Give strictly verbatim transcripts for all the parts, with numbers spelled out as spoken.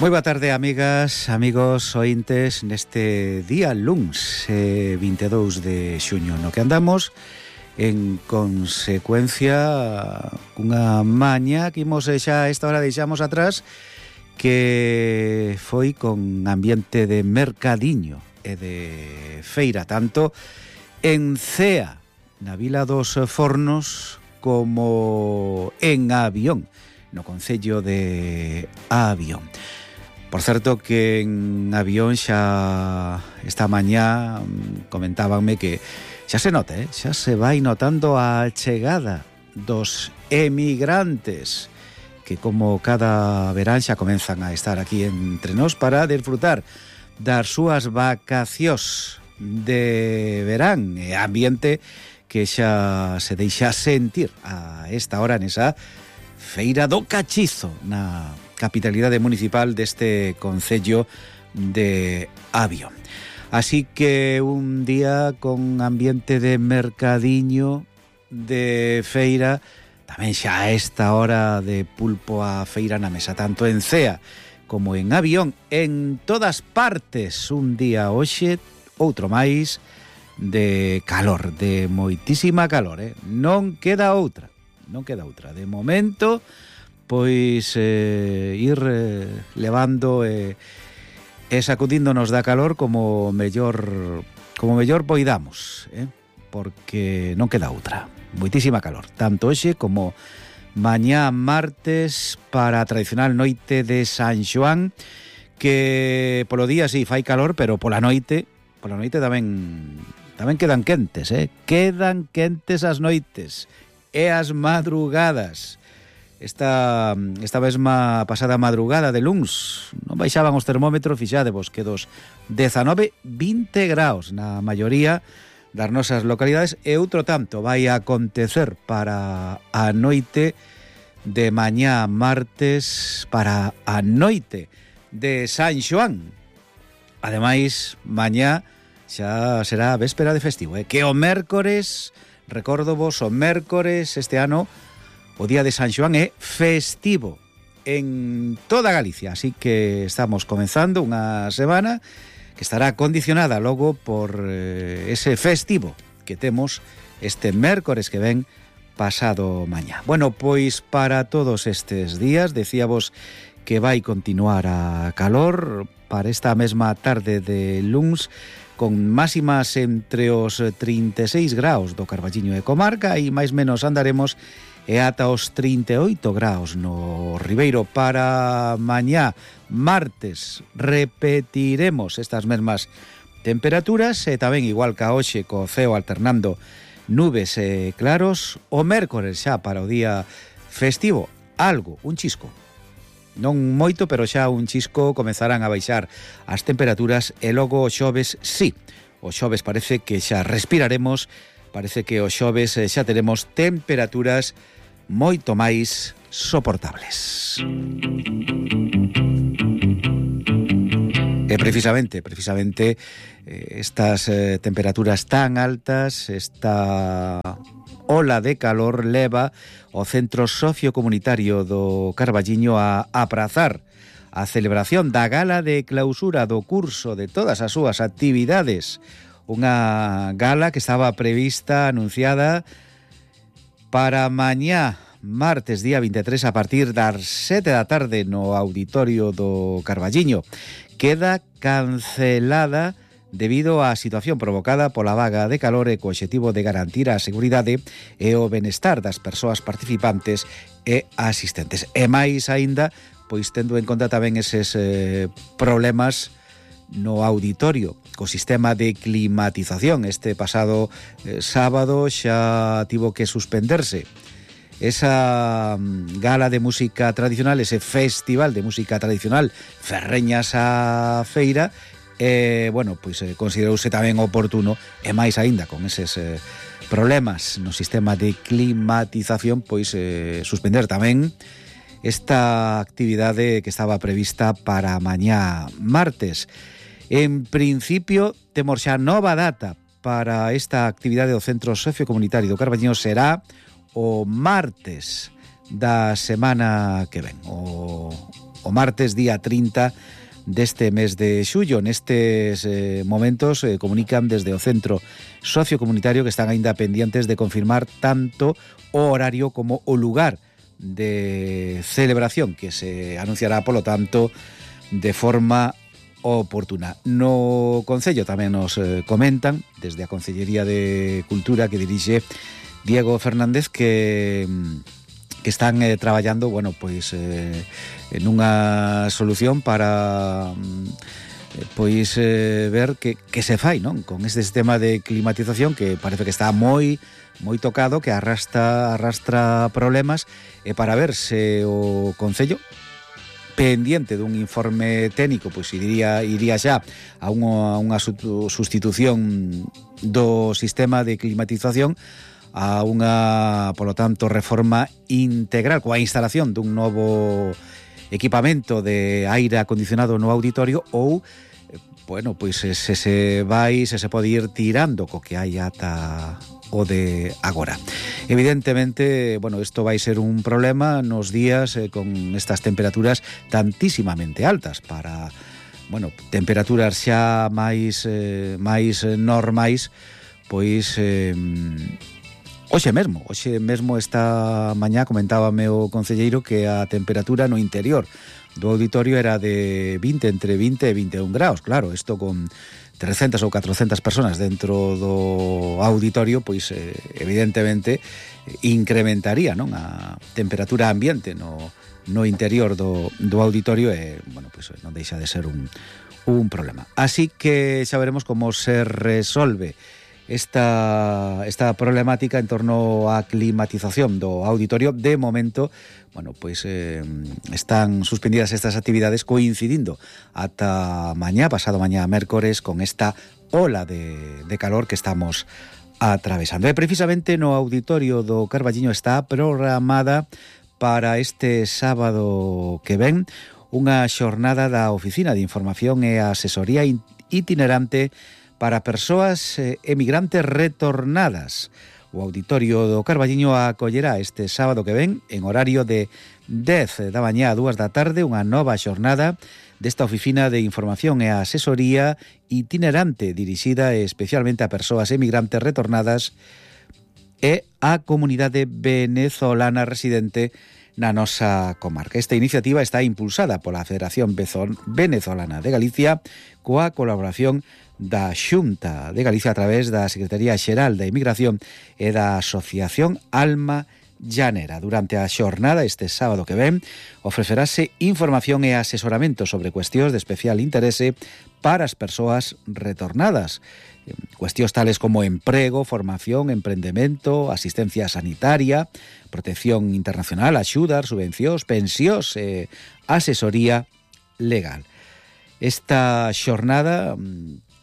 Moi boa tarde, amigas, amigos, ointes, neste día luns eh, vinte e dous de xuño, no que andamos en consecuencia cunha maña que imos xa a esta hora deixamos atrás, que foi con ambiente de mercadiño e de feira, tanto en Cea, na Vila dos Fornos, como en Avión, no concello de Avión. Por certo que en Avión xa esta mañá comentábanme que xa se nota, eh? xa se vai notando a chegada dos emigrantes que como cada verán xa comenzan a estar aquí entre nós para disfrutar das súas vacacións de verán, e ambiente que xa se deixa sentir a esta hora nesa Feira do Cachizo na capitalidade municipal deste concello de Avión. Así que un día con ambiente de mercadiño, de feira, tamén xa a esta hora de pulpo a feira na mesa, tanto en Cea como en Avión, en todas partes. Un día hoxe, outro máis, de calor, de moitísima calor, eh? Non queda outra, non queda outra. De momento, pois eh, ir eh, levando e eh, sacudíndonos da calor como mellor como mellor poidamos, eh? Porque non queda outra. Moitísima calor, tanto hoxe como mañá martes para a tradicional noite de San Xoán, que polo día sí fai calor, pero pola noite, pola noite tamén tamén quedan quentes, eh? Quedan quentes as noites e as madrugadas. Esta, esta mesma pasada madrugada de luns non baixaban os termómetros, fixadevos que dos dezanove, vinte graus na maioría das nosas localidades, e outro tanto vai a acontecer para a noite de mañá martes, para a noite de San Xoán. Ademais, mañá xa será véspera de festivo, eh? Que o mércores, recordo vos, o mércores este ano, o día de San Xoán é festivo en toda Galicia, así que estamos comenzando unha semana que estará condicionada logo por eh, ese festivo que temos este mércores que ven pasado mañá. Bueno, pois para todos estes días, decíamos que vai continuar a calor para esta mesma tarde de luns, con máximas entre os trinta e seis graus do Carballiño e comarca, e máis menos andaremos e ata os trinta e oito graus no Ribeiro. Para mañá martes repetiremos estas mesmas temperaturas, e tamén igual que a hoxe, co ceo alternando nubes e claros. O mércores xa para o día festivo, algo, un chisco, non moito, pero xa un chisco, comezarán a baixar as temperaturas, e logo o xoves, sí, o xoves parece que xa respiraremos, parece que o xoves xa teremos temperaturas moito máis soportables. E precisamente, precisamente estas eh, temperaturas tan altas, esta ola de calor leva o Centro Sociocomunitario do Carballiño a aprazar a celebración da gala de clausura do curso de todas as súas actividades. Unha gala que estaba prevista, anunciada para mañá, martes, día vinte e tres, a partir das sete da tarde no auditorio do Carballiño. Queda cancelada debido á situación provocada pola vaga de calor e co obxectivo de garantir a seguridade e o benestar das persoas participantes e asistentes. E máis aínda, pois tendo en conta tamén eses eh, problemas no auditorio co sistema de climatización. Este pasado eh, sábado xa tivo que suspenderse esa um, gala de música tradicional, ese festival de música tradicional Ferreñas a Feira, e, bueno, pois eh, considerouse tamén oportuno, e máis aínda con eses eh, problemas no sistema de climatización, pois eh, suspender tamén esta actividade que estaba prevista para mañá martes. En principio, temos xa nova data para esta actividade do Centro Sociocomunitario do Carballiño. Será o martes da semana que ven, o o martes día trinta deste mes de xullo. Nestes eh, momentos eh, comunican desde o Centro Sociocomunitario que están aínda pendientes de confirmar tanto o horario como o lugar de celebración, que se anunciará, polo tanto, de forma oportuna. No Concello tamén nos eh, comentan desde a Concellería de Cultura que dirixe Diego Fernández que que están eh, traballando, bueno, pois eh, en unha solución para eh, pois eh, ver que, que se fai, non? Con este sistema de climatización que parece que está moi moi tocado, que arrastra arrastra problemas, e para ver se o Concello, pendiente dun informe técnico, pois iría iría xa a unha, unha sustitución do sistema de climatización a unha, polo tanto, reforma integral coa instalación dun novo equipamento de aire acondicionado no auditorio, ou, bueno, pois se se vai, se se pode ir tirando co que hai ata o de agora. Evidentemente, bueno, isto vai ser un problema nos días eh, con estas temperaturas tantísimamente altas para, bueno, temperaturas xa máis eh, máis normais, pois eh, Hoxe mesmo, hoxe mesmo esta mañá comentábame o concelleiro que a temperatura no interior do auditorio era de vinte, entre vinte e vinte e un graus. Claro, isto con trescentas ou catrocentas personas dentro do auditorio, pois eh, evidentemente incrementaría, non, a temperatura ambiente no, no interior do, do auditorio e, bueno, pois non deixa de ser un, un problema. Así que xa veremos como se resolve esta esta problemática en torno á climatización do auditorio. De momento, bueno, pois eh, están suspendidas estas actividades coincidindo ata mañá, pasado mañá mércores, con esta ola de, de calor que estamos atravesando. E precisamente no auditorio do Carballiño está programada para este sábado que ven unha xornada da Oficina de Información e Asesoría Itinerante para persoas eh, emigrantes retornadas. O auditorio do Carballiño acollerá este sábado que ven, en horario de dez da mañá a dúas da tarde, unha nova xornada desta Oficina de Información e Asesoría Itinerante, dirixida especialmente a persoas emigrantes retornadas e a comunidade venezolana residente na nosa comarca. Esta iniciativa está impulsada pola Federación Venezolana de Galicia coa colaboración da Xunta de Galicia a través da Secretaría Xeral da Inmigración e da Asociación Alma Llanera. Durante a xornada este sábado que ven ofrecerase información e asesoramento sobre cuestións de especial interese para as persoas retornadas. Cuestións tales como emprego, formación, emprendemento, asistencia sanitaria, protección internacional, axudas, subvencións, pensións e asesoría legal. Esta xornada,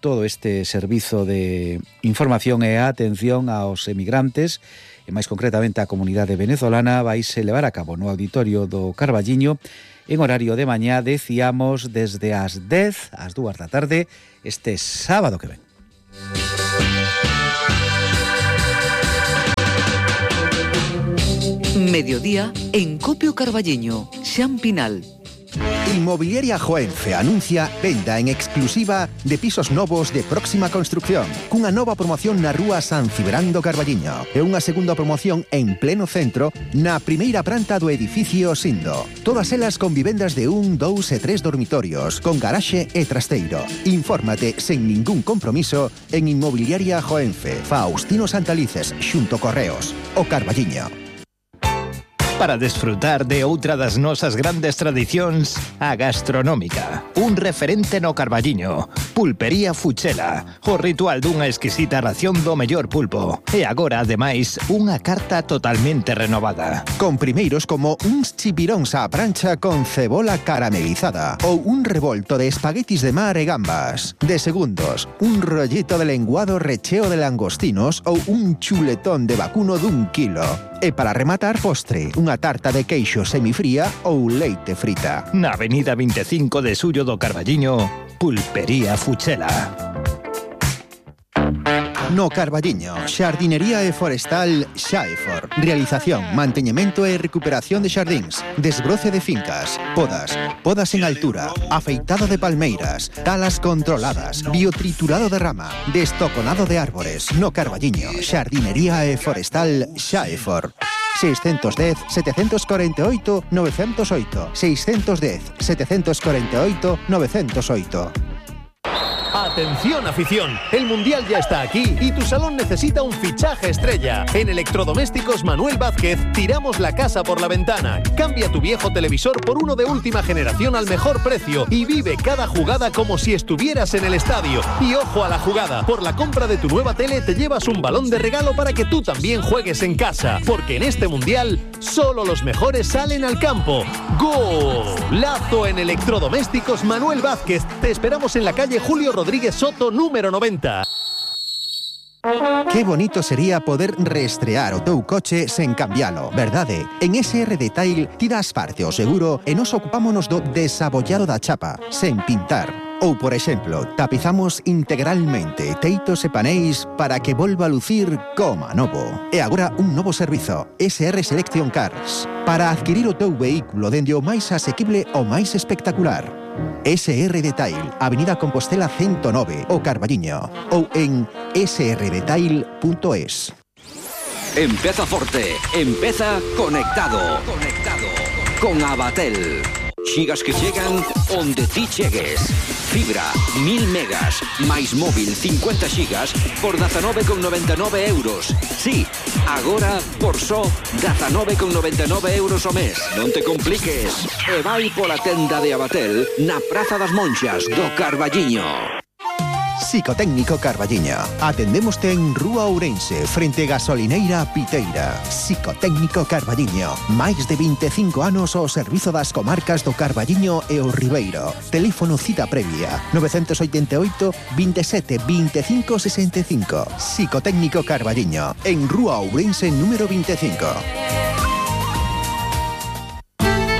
todo este servizo de información e atención aos emigrantes, e máis concretamente a comunidade venezolana, vaise levar a cabo no auditorio do Carballiño en horario de mañá, decíamos, desde as dez ás dúas da tarde, este sábado que ven. Mediodía en Copio Carballiño, Xan Pinal. Inmobiliaria Joenfe anuncia venda en exclusiva de pisos novos de próxima construcción, cunha nova promoción na rúa San Cibrán do Carballiño e unha segunda promoción en pleno centro na primeira planta do edificio Sindo. Todas elas con vivendas de un, dous e tres dormitorios, con garaxe e trasteiro. Infórmate sen ningún compromiso en Inmobiliaria Joenfe, Faustino Santalices, xunto Correos, o Carballiño. Para desfrutar de outra das nosas grandes tradicións, a gastronómica. Un referente no Carballiño. Pulpería Fuchela. O ritual dunha exquisita ración do mellor pulpo. E agora, ademais, unha carta totalmente renovada. Con primeiros como uns chipiróns á prancha con cebola caramelizada ou un revolto de espaguetis de mar e gambas. De segundos, un rollito de lenguado recheo de langostinos ou un chuletón de vacuno dun kilo. E para rematar, postre, unha tarta de queixo semifría ou leite frita. Na avenida veinticinco de Xullo do Carballiño, Pulpería Fuchela. No Carballiño, xardinería e forestal Xaefor. Realización, manteñemento e recuperación de xardíns, desbroce de fincas, podas, podas en altura, afeitada de palmeiras, talas controladas, biotriturado de rama, destoconado de árbores. No Carballiño, xardinería e forestal Xaefor. seiscentos dez, setecientos cuarenta y ocho, novecientos ocho. seiscentos dez, setecientos cuarenta y ocho, novecientos ocho. Atención afición, el Mundial ya está aquí y tu salón necesita un fichaje estrella. En Electrodomésticos Manuel Vázquez tiramos la casa por la ventana. Cambia tu viejo televisor por uno de última generación al mejor precio y vive cada jugada como si estuvieras en el estadio. Y ojo a la jugada, por la compra de tu nueva tele te llevas un balón de regalo para que tú también juegues en casa. Porque en este Mundial solo los mejores salen al campo. ¡Golazo en Electrodomésticos Manuel Vázquez! Te esperamos en la calle Julio Rodríguez Soto, número noventa. Qué bonito sería poder reestrear o teu coche sen cambialo, verdade? En S R Detail ti das parte o seguro e nos ocupámonos do desabollado da chapa, sen pintar. Ou, por exemplo, tapizamos integralmente teitos e paneis para que volva a lucir como novo. E agora un novo servizo, S R Selection Cars, para adquirir o teu vehículo dende o máis asequible ao máis espectacular. S R Detail, Avenida Compostela ciento nove, o Carballiño, ou en s r detail punto es. Empeza forte, empeza conectado. Conectado con Abatel. Xigas que chegan onde ti chegues. Fibra, mil megas, máis móvil, cincuenta xigas, por dezanove con noventa e nove euros. Sí, agora por só dezanove con noventa e nove euros o mes. Non te compliques. E vai pola tenda de Abatel na Praza das Monxas do Carballiño. Psicotécnico Carballiño. Atendémoste en Rúa Ourense, frente Gasolineira Piteira. Psicotécnico Carballiño. Máis de vinte e cinco anos ao servizo das comarcas do Carballiño e o Ribeiro. Teléfono cita previa novecientos ochenta e oito, veintisiete, veinticinco, sesenta y cinco. Psicotécnico Carballiño. En Rúa Ourense número veinticinco.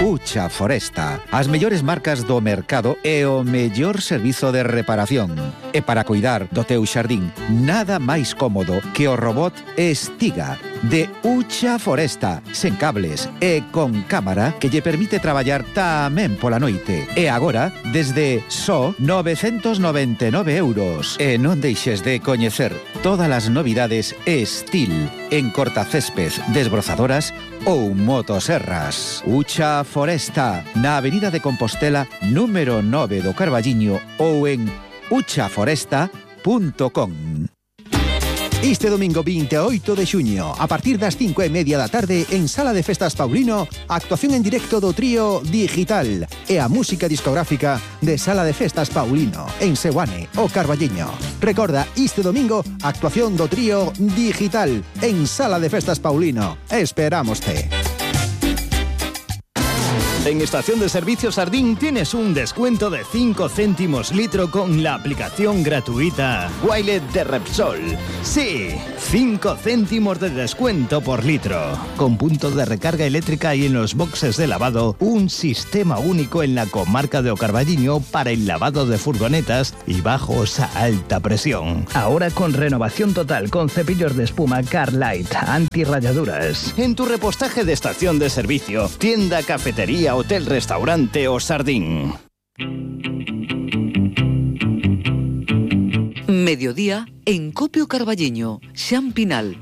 Ucha Foresta, as mellores marcas do mercado e o mellor servizo de reparación. E para cuidar do teu xardín, nada máis cómodo que o robot Estiga de Ucha Foresta, sen cables e con cámara que lle permite traballar tamén pola noite. E agora, desde só novecentos noventa e nove euros. E non deixes de coñecer todas as novidades Estil en cortacésped, desbrozadoras ou motoserras. Ucha Foresta, na Avenida de Compostela, número nove do Carballiño ou en ucha foresta punto com. Este domingo veintiocho de xuño, a partir das cinco e media da tarde, en Sala de Festas Paulino, actuación en directo do trío Digital e a música discográfica de Sala de Festas Paulino, en Seoane, o Carballiño. Recorda, este domingo, actuación do trío Digital en Sala de Festas Paulino. Esperámoste. En Estación de Servicio Sardín tienes un descuento de cinco céntimos litro con la aplicación gratuita Wilet de Repsol. Sí, cinco céntimos de descuento por litro. Con punto de recarga eléctrica y en los boxes de lavado, un sistema único en la comarca de O Carballiño para el lavado de furgonetas y bajos a alta presión. Ahora con renovación total con cepillos de espuma Carlight, antirrayaduras. En tu repostaje de estación de servicio, tienda, cafetería, hotel, restaurante o sardín. Mediodía en Copio Carballiño, Xan Pinal.